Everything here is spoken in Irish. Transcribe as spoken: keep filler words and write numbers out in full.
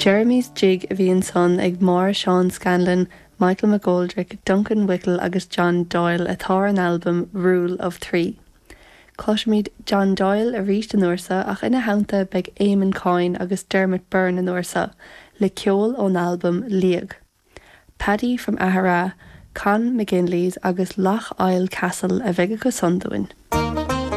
Jeremy's Jig a bhí ansan ag Máire Seán Scanlon, Michael McGoldrick, Duncan Wickel agus John Doyle atá ar an albam Rule of Three. Cloisfimid John Doyle arís an uair seo ach ina theannta beidh Eamon Coyne agus Dermot Byrne an uair seo le ceol ón albam Liag. Paddy from Aghara, Con McGinley's agus Lough Isle Castle a bheidh acu san dúinn.